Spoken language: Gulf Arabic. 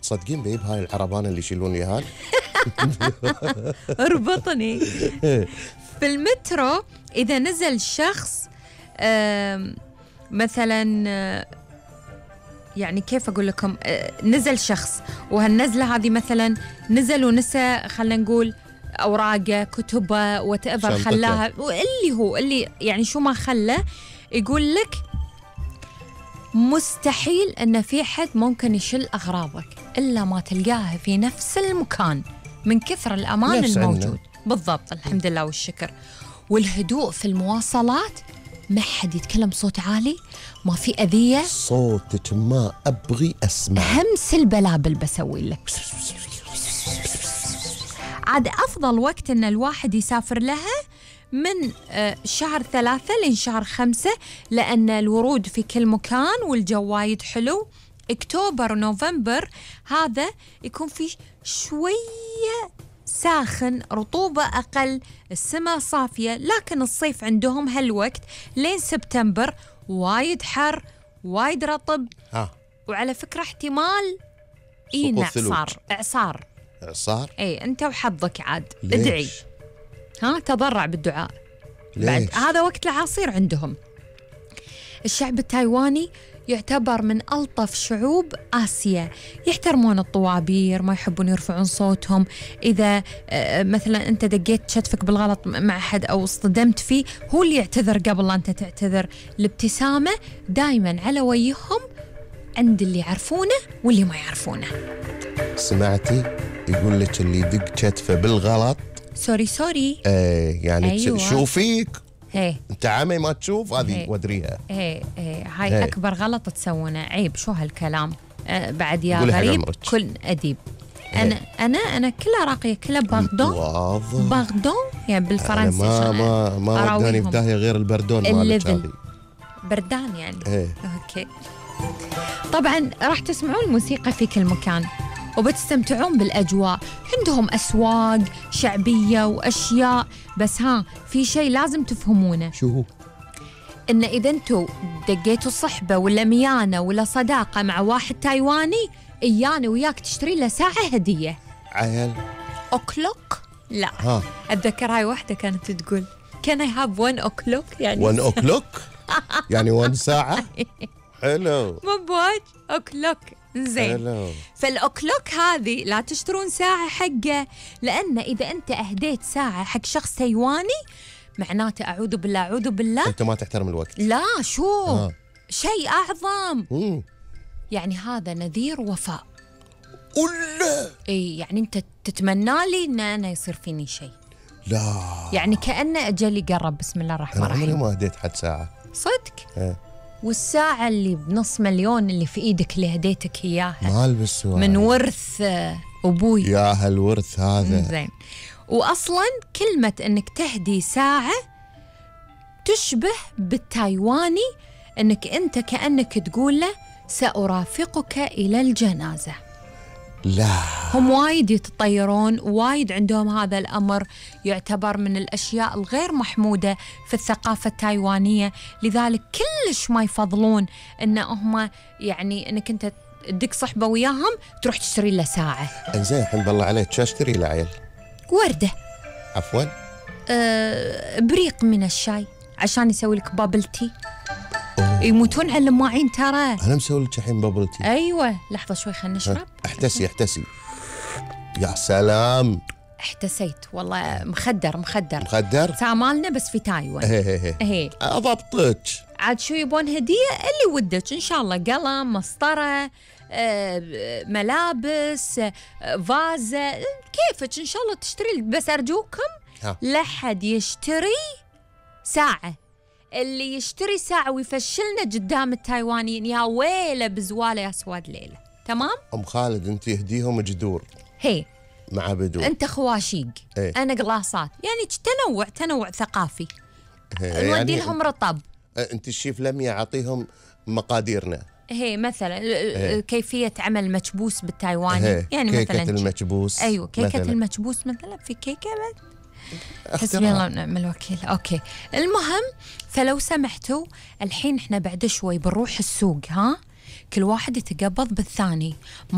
تصدقين بيب هاي العربانة اللي يشيلون لي هال؟ اربطني. في المترو إذا نزل شخص مثلا يعني كيف أقول لكم، نزل شخص وهالنزلة هذه مثلا نزل ونسى خلنا نقول أوراقه كتبه وتأفر خلاها، اللي يعني شو ما خلى، يقول لك مستحيل أن في حد ممكن يشيل أغراضك إلا ما تلقاها في نفس المكان من كثر الأمان الموجود. بالضبط، الحمد لله والشكر. والهدوء في المواصلات، ما حد يتكلم بصوت عالي، ما في أذية. صوتك ما أبغي أسمع، همس البلابل بسوي لك. عاد أفضل وقت أن الواحد يسافر لها من شهر 3 لين شهر 5، لأن الورود في كل مكان والجو وايد حلو. أكتوبر ونوفمبر هذا يكون فيه شوية ساخن، رطوبة أقل، السماء صافية. لكن الصيف عندهم هالوقت لين سبتمبر وايد حر، وايد رطب. وعلى فكرة احتمال إعصار. اي انت وحظك عاد. ادعي، تضرع بالدعاء. بعد هذا وقت العصير عندهم. الشعب التايواني يعتبر من ألطف شعوب آسيا، يحترمون الطوابير، ما يحبون يرفعون صوتهم. إذا مثلا أنت دقيت شتفك بالغلط مع أحد أو اصطدمت فيه، هو اللي يعتذر قبل لا أنت تعتذر. الابتسامة دايما على وجههم عند اللي يعرفونه واللي ما يعرفونه. سمعتي؟ يقول لك اللي يدق شتفه بالغلط سوري. يعني أيوة. شو فيك؟ انت عمي ما تشوف هذه ودريها. هاي اكبر غلط تسوونه، عيب. شو هالكلام؟ بعد يا غريب كل اديب. انا كلها راقيه، كلها باغدون يعني بالفرنسي. ما وداني في داهيه غير البردون مالك هذه. بردان يعني. اوكي. طبعا راح تسمعون الموسيقى في كل مكان وبتستمتعون بالأجواء. عندهم أسواق شعبية وأشياء، بس في شيء لازم تفهمونه. شو هو؟ إن إذا أنتوا دقيتوا صحبة ولا ميانة ولا صداقة مع واحد تايواني، إيانا وياك تشتري له ساعة هدية. عيل أوكلوك؟ لا. أتذكر هاي واحدة كانت تقول Can I have 1 o'clock؟ يعني 1 o'clock؟ يعني 1 ساعة؟ حلو. مو بواج أوكلوك. زين. فالأوكلوك هذه لا تشترون ساعة حقه، لأن إذا أنت أهديت ساعة حق شخص تايواني معناته أعوذ بالله أنت ما تحترم الوقت. لا شو شيء أعظم. يعني هذا نذير وفاء. يعني أنت تتمنى لي إن أنا يصير فيني شيء. لا يعني كأنه أجلي قرب. بسم الله الرحمن الرحيم. أنا ما هديت حد ساعة صدق. والساعة اللي بنص مليون اللي في إيدك اللي هديتك إياها ما ألبس من ورث أبوي. يا هالورث هذا. زين. وأصلا كلمة أنك تهدي ساعة تشبه بالتايواني أنك أنت كأنك تقول له سأرافقك إلى الجنازة. لا هم وايد يتطيرون، وايد عندهم هذا الأمر، يعتبر من الأشياء الغير محمودة في الثقافة التايوانية. لذلك كلش ما يفضلون إن هم يعني إنك أنت تدق صحبة وياهم تروح تشتري له ساعة. إنزين الحين بالله عليك شو أشتري له عيل؟ وردة. عفوا. بريق من الشاي عشان يسوي لك بابل تي. يموتون على الماعين ترى. أنا مسوي لك الحين بابل تي. أيوة لحظة شوي خلنا نشرب. احتسي يا سلام. احتسيت والله. مخدر ساعة مالنا بس في تايوان. هي أضبطك. عاد شو يبون هدية اللي ودك إن شاء الله، قلم، مسطرة، ملابس، فازة، كيفك إن شاء الله تشتري. بس أرجوكم لا حد يشتري ساعة. اللي يشتري ساعة ويفشلنا قدام التايوانيين يا ويله بزواله يا سواد ليلة. تمام؟ أم خالد أنت يهديهم جدور مع بدور. أنت خواشيق. أنا قلاصات. يعني تنوع ثقافي. نودي يعني لهم رطب. أنت الشيف لمية أعطيهم مقاديرنا. مثلا كيفية عمل مكبوس بالتايواني. يعني كيكة مثلا المكبوس. أيوة كيكة المكبوس مثلا. في كيكة حسبي الله ونعم الوكيل. أوكي المهم، فلو سمحتوا الحين إحنا بعد شوي بنروح السوق. كل واحد يتقبض بالثاني. ما